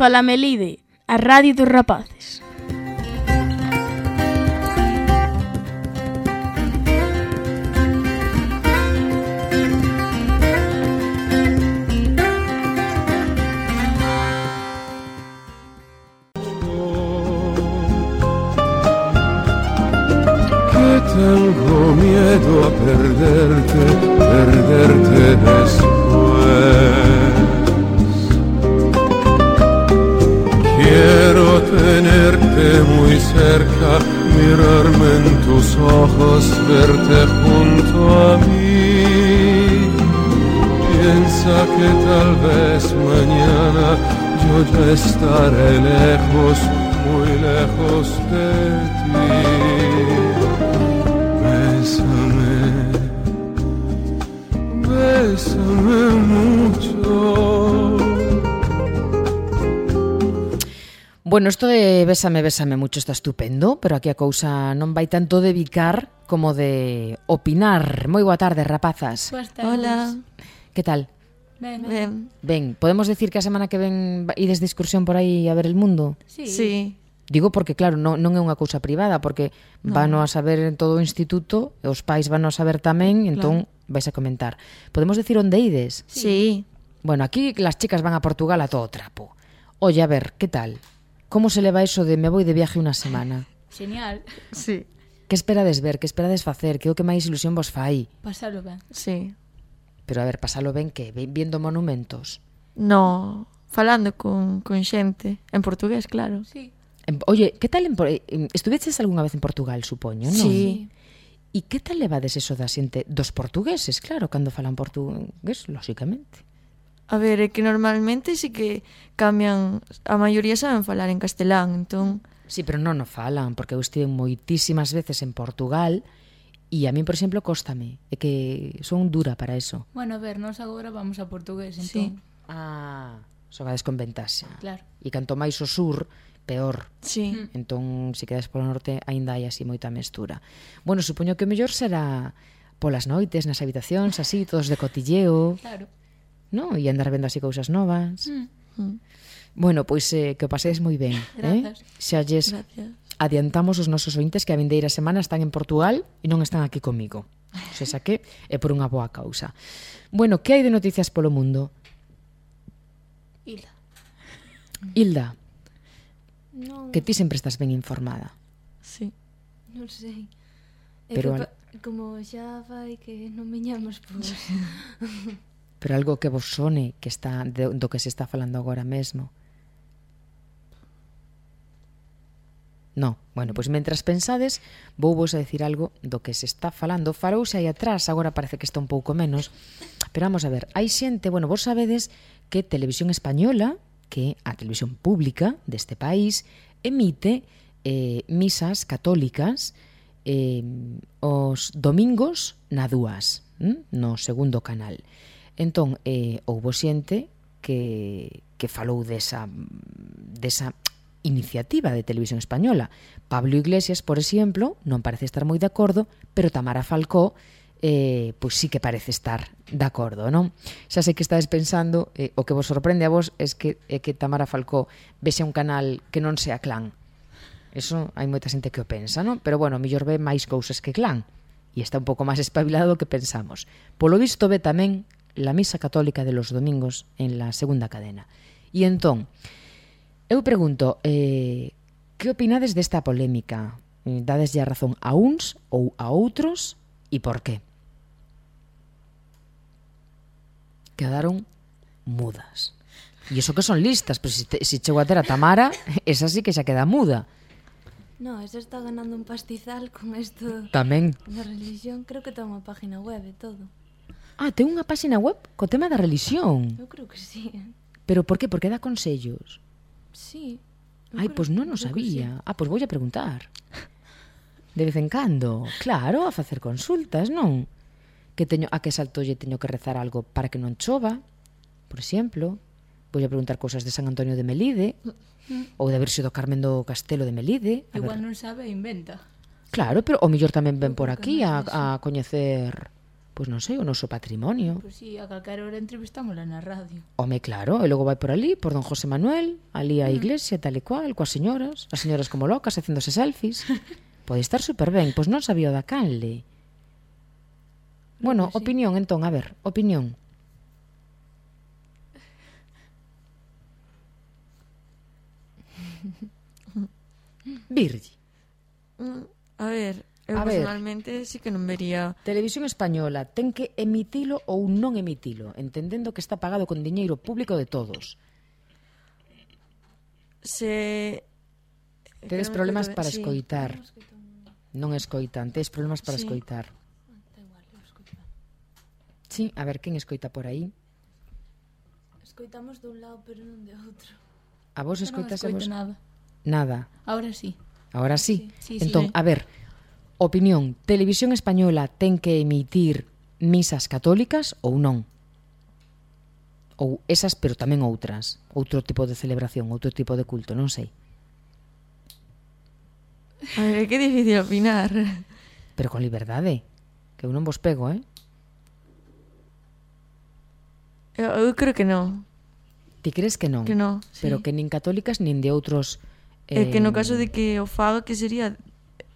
Fala Melide, a radio dos rapaces. Tengo miedo a perderte después. Quiero tenerte muy cerca, mirarme en tus ojos, verte junto a mí. Piensa que tal vez mañana yo ya estaré lejos, muy lejos de ti. Bésame mucho. Bueno, esto de bésame mucho está estupendo, pero aquí a cousa non vai tanto de bicar como de opinar. Moi boa tarde, rapazas. Hola. Que tal? Ben. Ben, podemos decir que a semana que ven ides de excursión por aí a ver el mundo? Sí. Digo porque, claro, non é unha cousa privada, porque vano a saber en todo o instituto, e os pais vano a saber tamén, entón vais a comentar. Podemos decir onde ides? Sí. Bueno, aquí las chicas van a Portugal a todo trapo. Oye, a ver, ¿qué tal? ¿Cómo se leva eso de me voy de viaje unha semana? Genial. Sí. Que esperades ver, que esperades facer, que é o que máis ilusión vos fai? Pasalo ben. Sí. Pero a ver, pasalo ben que viendo monumentos. No, falando con xente en portugués, claro. Sí. Oye, que tal estuveches algunha vez en Portugal, supoño, non? Sí. E que tal levades eso da xente dos portugueses, claro, cando falan portugués, lóxicamente? A ver, é que normalmente sí que cambian, a maioría saben falar en castelán, entón... Sí, pero non o falan, porque eu estive moitísimas veces en Portugal e a mí, por exemplo, cóstame, é que son dura para eso. Bueno, a ver, nós agora vamos a portugués, Sí. entón. Xogades con ventaxa. Claro. E canto máis o sur, peor. Sí. Entón, se quedas polo norte, aínda hai así moita mestura. Bueno, supoño que o mellor será polas noites, nas habitacións, así, todos de cotilleo, Claro. no? E andar vendo así cousas novas. Bueno, pois que o pasedes moi ben. Grazas. Xa lles Gracias. adiantamos os nosos ointes que a vindeira semana están en Portugal e non están aquí comigo. O sea, que é por unha boa causa. Bueno, que hai de noticias polo mundo? Hilda, Non, que ti sempre estás ben informada. Sí. non sei. É Pero que como xa vai que non viñamos por... Pero algo que vos sone que está do que se está falando agora mesmo. No, bueno, pois mentras pensades, vou vos a decir algo do que se está falando. Falouse aí atrás, agora parece que está un pouco menos. Pero vamos a ver, hai xente, bueno, vos sabedes que Televisión Española, que a televisión pública deste país, emite misas católicas os domingos na 2, no segundo canal. Entón, houbo xente que falou desa iniciativa de Televisión Española. Pablo Iglesias, por exemplo, non parece estar moi de acordo, pero Tamara Falcó pois sí que parece estar de acordo, non? Xa sei que estades pensando, o que vos sorprende a vos é que Tamara Falcó vexe un canal que non sea Clan. Eso hai moita xente que o pensa, non? Pero bueno, mellor ve máis cousas que Clan e está un pouco máis espabilado do que pensamos. Polo visto ve tamén la misa católica de los domingos en la segunda cadena. E entón, eu pregunto, que opinades desta polémica? Dadeslle a razón a uns ou a outros e por qué? Quedaron mudas. E iso que son listas, pero se chego a ter a Tamara, esa sí que xa queda muda. No, esa está ganando un pastizal con esto Tamén. da religión. Creo que ten unha página web e todo. Ten unha página web co tema da religión. Eu creo que sí. Pero por qué? Porque dá consellos. Sí. Pois non o sabía. Pois voulle preguntar. De vez en cando. Claro, a facer consultas, non? Que teño, a que saltolle teño que rezar algo para que non chova, por exemplo. Voulle preguntar cousas de San Antonio de Melide, ou da Virxe do Carmen do Castelo de Melide. Igual non sabe e inventa. Claro, pero o mellor tamén ven por aquí a coñecer pois non sei, o noso patrimonio. Pois si, a calquera hora entrevistámola na radio. Home, claro, e logo vai por ali, por don José Manuel, ali á iglesia, tal e cual, coas señoras, as señoras como locas, facéndose selfies. Pode estar super ben, pois non sabía o da canle. Bueno, que sí. opinión, entón, a ver, opinión. Virgi. A ver, eu A ver. personalmente sí que non vería... Televisión Española ten que emitilo ou non emitilo, entendendo que está pagado con diñeiro público de todos. Se... Tedes que non problemas recordo- para sí. escoitar. Non escoitan, tedes problemas para Sí. escoitar. Sí, a ver, quen escoita por aí? Escoitamos dun lado, pero non de outro. A vos Eu non escoitas a escoito vos? nada. Nada. Ahora sí. Ahora sí. Sí, Entón, sí. a ver, opinión, Televisión Española ten que emitir misas católicas ou non? Ou esas, pero tamén outras. Outro tipo de celebración, outro tipo de culto, non sei. A ver, que difícil opinar. Pero con liberdade, que eu non vos pego, Eu creo que non. Ti crees que non? Que non, sí. Pero que nin católicas nin de outros... É que no caso de que o faga, que sería...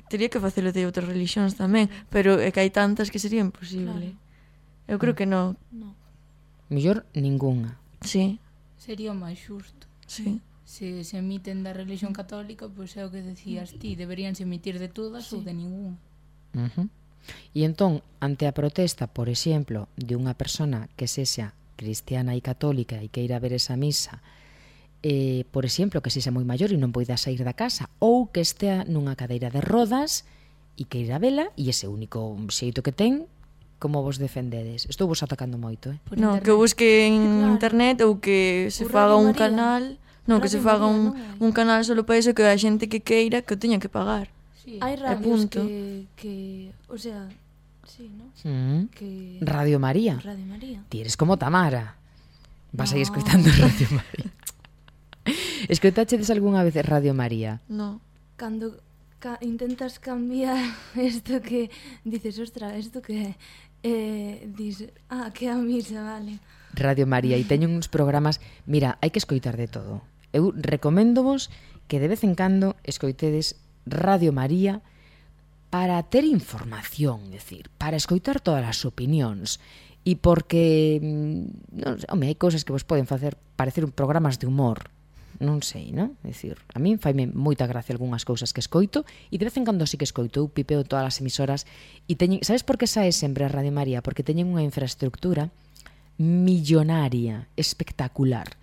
Tería que facelo de outras religións tamén, pero é que hai tantas que sería imposible. Claro. Eu creo que non. No. Mellor ningunha. Sí, Sería o máis xusto. sí. Se se emiten da religión católica, pois é o que decías ti, deberíanse emitir de todas ou de ningún. E entón, ante a protesta, por exemplo, de unha persona que sexa cristiana e católica e queira ver esa misa, por exemplo, que sexa moi maior e non poida sair da casa, ou que estea nunha cadeira de rodas e queira vela, e ese único xeito que ten, como vos defendedes? Estou vos atacando moito, Por No, internet. que busque en Claro. internet ou que se O faga Radio un María. canal. No, que se Radio faga María, non hai. un canal solo para iso, que a xente que queira que o teña que pagar. Sí. Hai radios punto. que... O sea, sí, ¿no? Que... Radio María. Radio María. Ti eres como Tamara. Vas aí No. escoitando Radio María. Escoitachedes algunha vez Radio María? No. Cando intentas cambiar isto que... Dices, ostra, isto que... Dices, que a misa, vale. Radio María, e teñen uns programas... Mira, hai que escoitar de todo. Eu recoméndovos que de vez en cando escoitedes Radio María para ter información, é dicir, para escoitar todas as opinións, e porque, non sei, home, hai cousas que vos poden facer parecer programas de humor, non sei, non? É dicir, a min faime moita gracia algunhas cousas que escoito, e de vez en cando sí que escoito, eu pipeo todas as emisoras, e teñen, sabes por que sae sempre a Radio María? Porque teñen unha infraestructura millonaria, espectacular,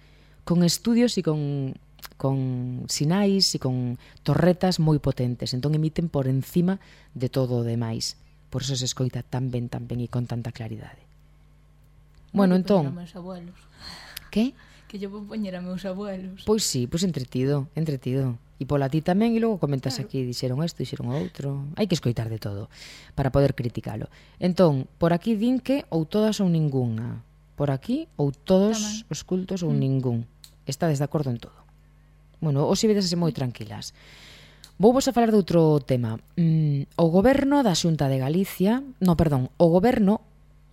con estudios e con sinais e con torretas moi potentes, entón emiten por encima de todo o demais, por eso se escoita tan ben e con tanta claridade. Bueno, Que poñer entón, a meus abuelos. que? Que yo vou poñer a meus abuelos. Pois sí, pois entretido. E pola ti tamén, e logo comentas aquí, dixeron isto, dixeron outro. Hai que escoitar de todo para poder criticalo. Entón, por aquí din que ou todas ou ningunha. Por aquí, ou todos Tamén. os cultos ou ningún. Estades de acordo en todo. Bueno, hoxe vedese moi tranquilas. Vouvos a falar de outro tema. O goberno da Xunta de Galicia, o goberno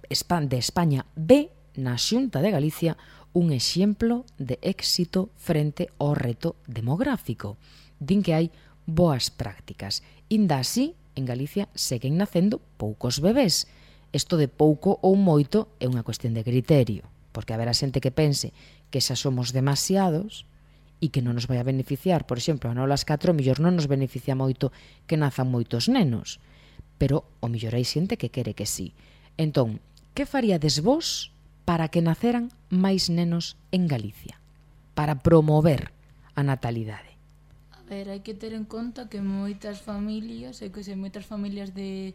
de España ve na Xunta de Galicia un exemplo de éxito frente ao reto demográfico. Din que hai boas prácticas. Inda así, en Galicia seguen nacendo poucos bebés. Isto de pouco ou moito é unha cuestión de criterio, porque haberá xente que pense que xa somos demasiados e que non nos vai a beneficiar. Por exemplo, a nolas 4 mellor non nos beneficia moito que nazan moitos nenos, pero o mellor hai xente que quere que sí. Entón, que faríades vos para que naceran máis nenos en Galicia? Para promover a natalidade. A ver, hai que ter en conta que moitas familias, moitas familias de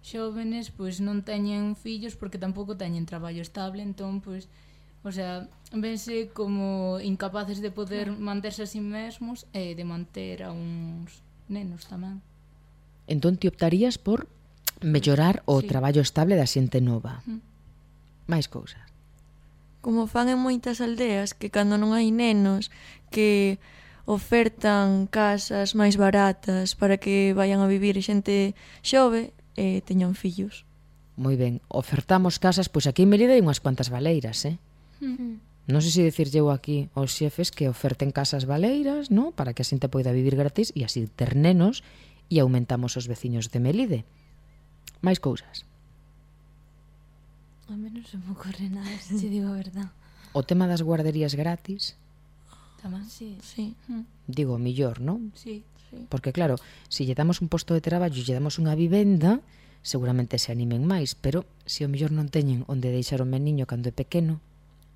xóvenes, pois non teñen fillos porque tampouco teñen traballo estable, entón, pois, o sea, vense como incapaces de poder manterse a sí mesmos e de manter a uns nenos tamén. Entón ti optarías por mellorar o Sí. traballo estable da xente nova. Máis cousas. Como fan en moitas aldeas, que cando non hai nenos, que ofertan casas máis baratas para que vayan a vivir xente xove e teñan fillos. Moi ben, ofertamos casas, pois aquí en Melide hai unhas cuantas baleiras, Non sei se dicirlle eu aquí aos xefes que oferten casas baleiras, no? Para que a xente poida vivir gratis e así ter nenos e aumentamos os veciños de Melide. Máis cousas. A mí non se me ocorre nada, se te digo a verdad. O tema das guarderías gratis, Tamén. Sí. Sí. digo, millor, non? Sí. Porque claro, se lle damos un posto de traballo e lle damos unha vivenda, seguramente se animen máis, pero se o mellor non teñen onde deixar o meniño cando é pequeno.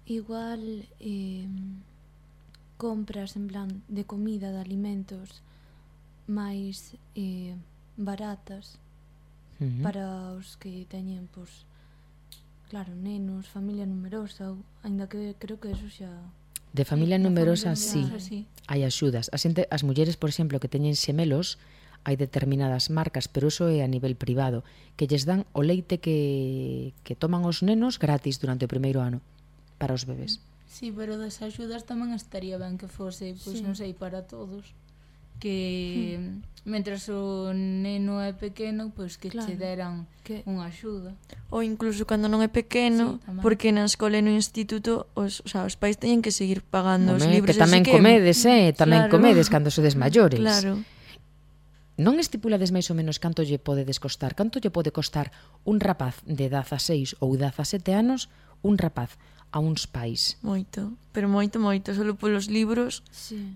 Igual compras en plan de comida, de alimentos máis baratas para os que teñen, pois, claro, nenos, familia numerosa, aínda que creo que eso xa... De familia numerosa, sí, Sí. hai axudas. As mulleres, por exemplo, que teñen xemelos, hai determinadas marcas, pero iso é a nivel privado, que lles dan o leite que toman os nenos gratis durante o primeiro ano para os bebés. Sí, pero das axudas tamén estaría ben que fose, pois non sei, para todos. Que mentras o neno é pequeno, pois que che deran unha axuda. Ou incluso cando non é pequeno, Sí, tamén. porque na escola e no instituto os pais teñen que seguir pagando os Home, libros. que tamén así comedes, tamén Claro. comedes cando sodes maiores. Claro. Non estipulades máis ou menos canto lle podedes costar? Canto lle pode costar un rapaz de 16 ou 17 anos, un rapaz a uns pais? Moito, pero moito, solo polos libros Sí.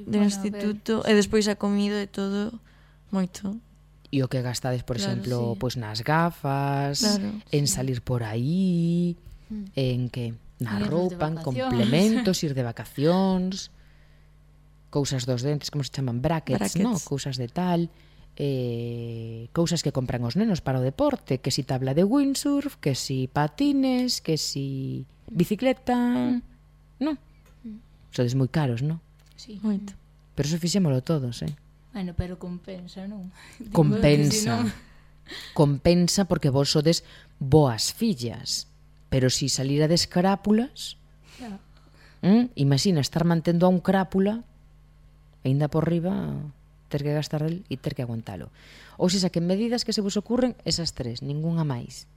do instituto e despois a comida e todo, moito. E o que gastades, por Claro, exemplo, sí. pois nas gafas, Claro, en salir por aí, en que na Ir de roupa, en vacacións. complementos, ir de vacacións, cousas dos dentes, como se chaman, brackets, Brackets. no? Cousas de tal, cousas que compran os nenos para o deporte, que si tabla de windsurf, que si patines, que si bicicleta, non? Sodes moi caros, non? Sí. moito. Pero eso fixémolo todos, Bueno, pero compensa, non? Digo, Compensa. que Compensa porque vos sodes boas fillas. Pero si salirades crápulas, Ya. imagina estar mantendo a un crápula, aínda por riba, ter que gastar del e ter que aguantalo. Ou se saquen medidas que se vos ocurren, esas tres, ningunha máis.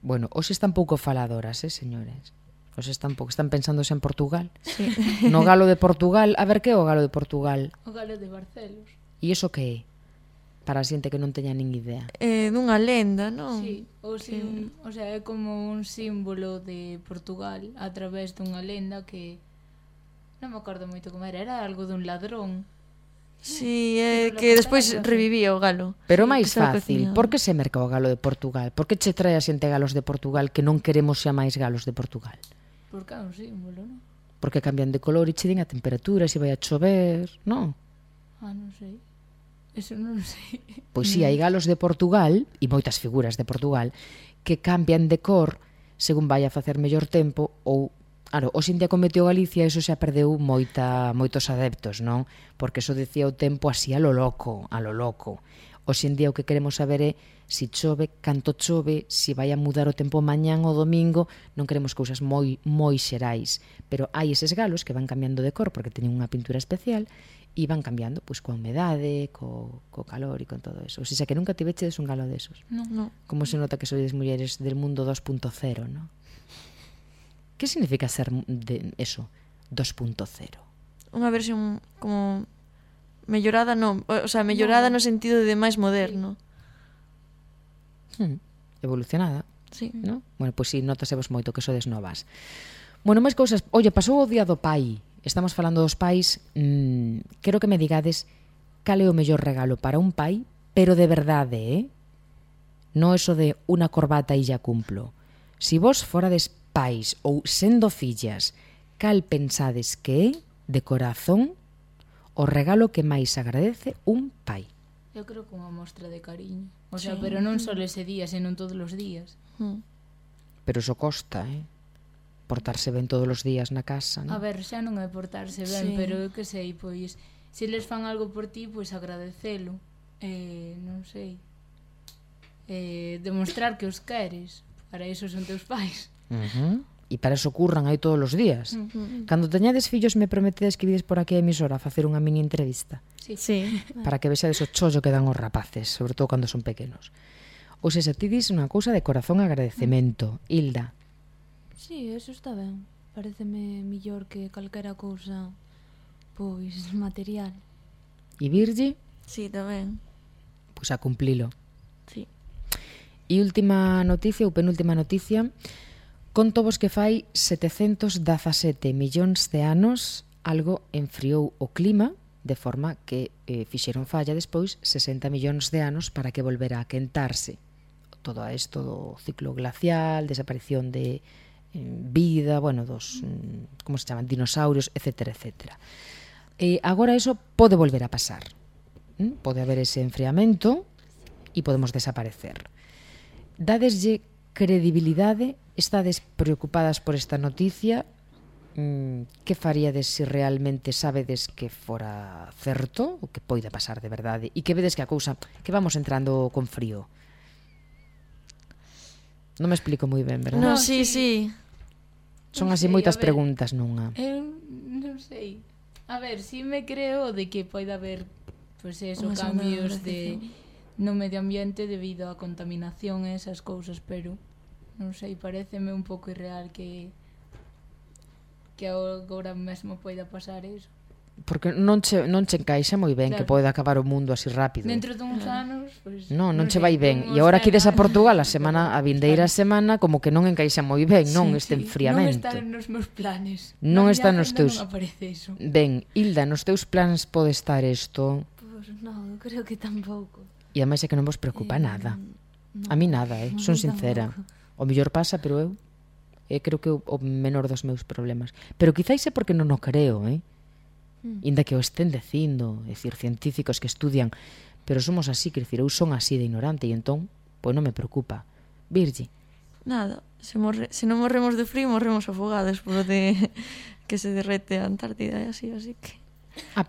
Bueno, hoxe están pouco faladoras, señores. Hoxe están pouco, están pensándose en Portugal. Sí. No galo de Portugal, a ver que é o galo de Portugal. O galo de Barcelos. E iso que é? Para a xente que non teña nin idea. Dunha lenda, non? Sí, o sea, é como un símbolo de Portugal a través dunha lenda que non me acordo moito como era algo dun ladrón. Sí, Pero que la despois pantalla, revivía o galo. Pero Sí, máis que estaba fácil, cocinado. por que se merca o galo de Portugal? Por que che trae a xente galos de Portugal que non queremos xa máis galos de Portugal? Porque é un símbolo, non? Porque cambian de color e che din a temperatura, se vai a chover, non? Non sei. Eso non sei. Pois si, hai galos de Portugal e moitas figuras de Portugal que cambian de cor según vai a facer mellor tempo ou, claro, hoxe en día con Meteo Galicia eso xa perdeu moitos adeptos, non? Porque eso decía o tempo así a lo loco, a lo loco. Hoxe en día o que queremos saber é si chove, canto chove, si vai a mudar o tempo mañán ou domingo, non queremos cousas moi xerais, pero hai eses galos que van cambiando de cor porque teñen unha pintura especial e van cambiando pois coa humedade, co calor e con todo eso. O sea, que nunca tivechedes un galo desos. No. Como se nota que sois mulleres del mundo 2.0, ¿no? Que significa ser de eso, 2.0? Unha versión como mellorada, non, o sea, mellorada no sentido de máis moderno. Evolucionada, Sí. ¿no? Bueno, pois si, notasevos moito que sodes novas. Bueno, máis cousas. Oye, pasou o día do pai. Estamos falando dos pais. Quero que me digades cal é o mellor regalo para un pai, pero de verdade, non eso de unha corbata e ya cumplo. Si vos forades pais ou sendo fillas, cal pensades que é, de corazón, o regalo que máis agradece un pai? Eu creo que unha mostra de cariño. O sea, pero non só ese día, senón todos os días. Pero iso costa, portarse ben todos os días na casa, A non? ver, xa non é portarse ben, Sí. pero eu que sei, pois, se les fan algo por ti, pois agradecelo. Non sei. Demostrar que os queres. Para iso son teus pais. E para eso curran aí todos os días. Cando teñades fillos, me prometedes que vides por aquí a emisora a facer unha mini entrevista. Sí. Para que vexades o chollo que dan os rapaces, sobre todo cando son pequenos. Ou seja, ti dis unha cousa de corazón agradecemento. Hilda. Sí, eso está ben. Pareceme millor que calquera cousa pois material. E Virgi, Sí, tamén. pois a cumplilo. Sí. E última noticia, ou penúltima noticia, conto vos que fai 717 millóns de anos algo enfriou o clima, de forma que fixeron falla despois 60 millóns de anos para que volvera a quentarse. Todo isto do ciclo glacial, desaparición de vida, bueno, dos, como se chaman, dinosaurios, etcétera, etcétera. Agora eso pode volver a pasar. Pode haber ese enfriamento e podemos desaparecer. Dadeslle credibilidade? Estades preocupadas por esta noticia? Que faríades se realmente sabedes que fora certo ou que poida pasar de verdade e que vedes que a cousa, que vamos entrando con frío? Non me explico moi ben, verdad? No, sí. Son Non así sei, moitas a ver. preguntas nunha. Eu non sei. A ver, si me creo de que poida haber pois eso, Unha segunda cambios glaciación. no medio ambiente debido á contaminación e esas cousas, pero non sei, paréceme un pouco irreal que agora mesmo poida pasar eso. Porque non che encaixa moi ben que Claro. poida acabar o mundo así rápido. Dentro duns anos, pois Non che sei, vai ben. como E agora os que ides a veganos, Portugal a vindeira semana como que non encaixa moi ben, non, este Non enfriamento. está nos meus planes. Non Na está miña nos agenda teus. Non aparece iso. Ben, Hilda, nos teus plans pode estar isto. Pois non, creo que tampouco. E ademais é que non vos preocupa nada. A mí nada, son sincera. O mellor pasa, pero eu creo que o menor dos meus problemas. Pero quizáis é porque non o creo, Inda que o estén dicindo, é dicir, científicos que estudian, pero somos así, quer dicir, eu son así de ignorante e entón, pois non me preocupa. Virgi, Nada, se non morremos de frío, morremos afogados por de que se derrete a Antártida e así que...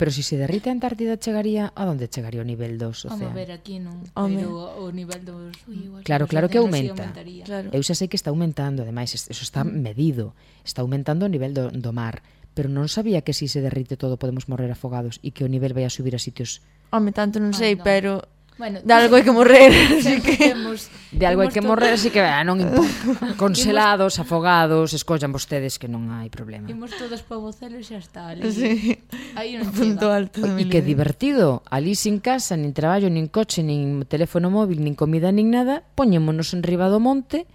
pero se se derrite a Antártida chegaría, a onde chegaría o nivel dos Vamos a océanos? ver, aquí non, Home. pero o nivel dos Claro, dos claro que océanos sí aumenta. aumentaría. Claro. Eu xa sei que está aumentando, ademais, eso está medido. Está aumentando o nivel do mar. Pero non sabía que si se derrite todo podemos morrer afogados e que o nivel vai a subir a sitios. Home, tanto non sei, non. pero Bueno, de algo hai que morrer, así que... De algo hai que morrer, así que non importa. Congelados, afogados, escollan vostedes que non hai problema. Imos todos pa Bocelo e xa está. Ali. Sí. Aí non Punto chega. alto de E mi que vida. divertido, ali sin casa, nin traballo, nin coche, nin teléfono móvil, nin comida, nin nada, poñémonos en riba do monte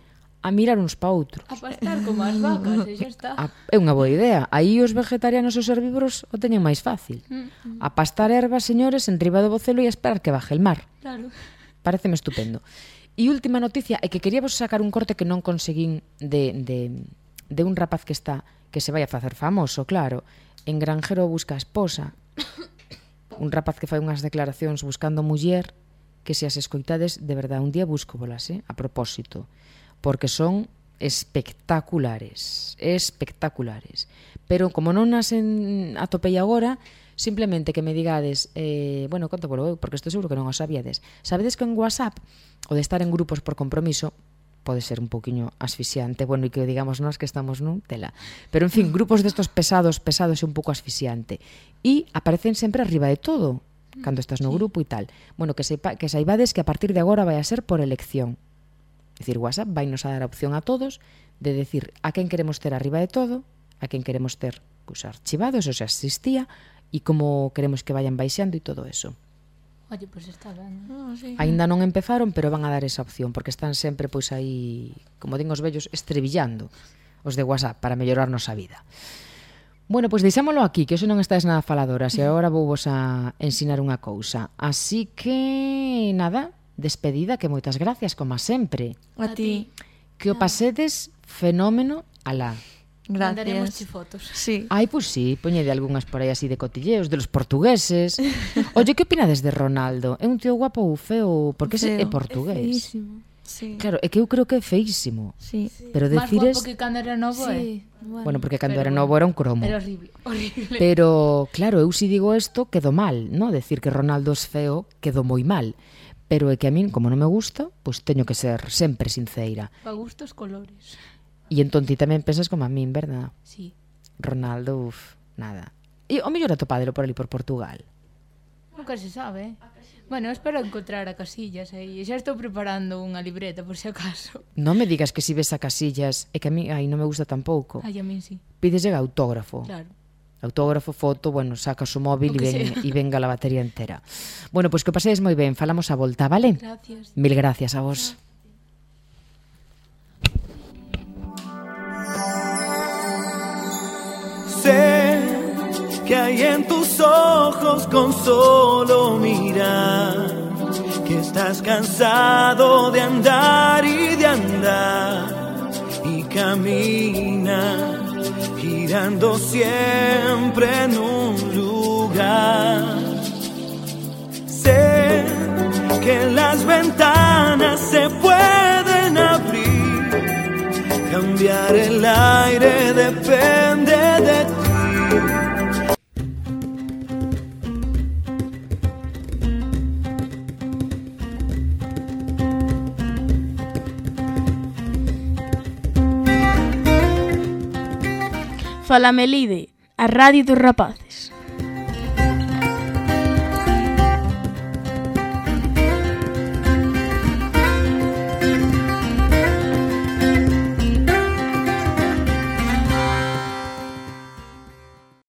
a mirar uns pa outros. A pastar como as vacas, e xa está. É unha boa idea. Aí os vegetarianos e os herbívoros o teñen máis fácil. A pastar ervas, señores, en riba do Bocelo e a esperar que baje el mar. Claro. Pareceme estupendo. E última noticia é que queríamos sacar un corte que non conseguín de un rapaz que se vai a facer famoso, claro. En Granjero busca a esposa. Un rapaz que fai unhas declaracións buscando muller que se as escoitades, de verdade, un día busco bolas, a propósito, porque son espectaculares, pero como non as atopei agora, simplemente que me digades, bueno, conto polo eu, porque estou seguro que non o sabíades. Sabedes que en WhatsApp, o de estar en grupos por compromiso, pode ser un pouquiño asfixiante, bueno, e que digamos nós que estamos nun tela. Pero, en fin, grupos destos pesados e un pouco asfixiante. E aparecen sempre arriba de todo, cando estás no grupo e tal. Bueno, que saibades que a partir de agora vai a ser por elección. É dicir, WhatsApp vai nos a dar a opción a todos de decir a quen queremos ter arriba de todo, a quen queremos ter pues, archivados, o sea, existía, e como queremos que vayan baixando e todo eso. Oye, pois está ben. No, sí. Aínda non empezaron, pero van a dar esa opción, porque están sempre pois aí, como din os vellos, estrevillando os de WhatsApp para mellorarnos a vida. Bueno, pois deixámolo aquí, que hoxe non estáis nada faladoras, e agora vou vos a ensinar unha cousa. Así que, nada, despedida, que moitas gracias, como sempre. A ti. Que o pasedes fenómeno alá. Mandaremos Gracias. fotos. Sí. Ai, pois sí, poñede algunhas por aí así de cotilleos, de los portugueses. Oye, que opinades de Ronaldo? É un tío guapo ou feo? Porque ese é Feo. portugués. Feísimo. Sí. Claro, é que eu creo que é feísimo. Sí. Pero Más decires... guapo que cando era novo, Sí, Bueno, porque cando Pero era novo era un cromo. Era horrible, horrible. Pero, claro, eu si digo isto, quedo mal, ¿no? Decir que Ronaldo é feo, quedo moi mal. Pero é que a min, como non me gusta, pois teño que ser sempre sinceira. Pa gustos colores. E entón ti tamén pensas como a min, verdad? Sí. Ronaldo, nada. E o mellor atopadelo por ali por Portugal. Nunca se sabe. Bueno, espero encontrar a Casillas aí. Xa estou preparando unha libreta por si acaso. Non me digas que si ves a Casillas, é que a mí aí non me gusta tampouco. Ai, a min sí. Pídeslle autógrafo. Claro. Autógrafo, foto, bueno, sacas o móvil O que sea. e venga la batería entera. Bueno, pois que pasedes moi ben, falamos a volta, vale? Gracias. Mil gracias a vos. Sé que hay en tus ojos con solo mirar que estás cansado de andar y de andar y camina girando siempre en un lugar. Sé que las ventanas se pueden abrir, cambiar el aire depende de ti. Fala Melide, a radio dos rapaces.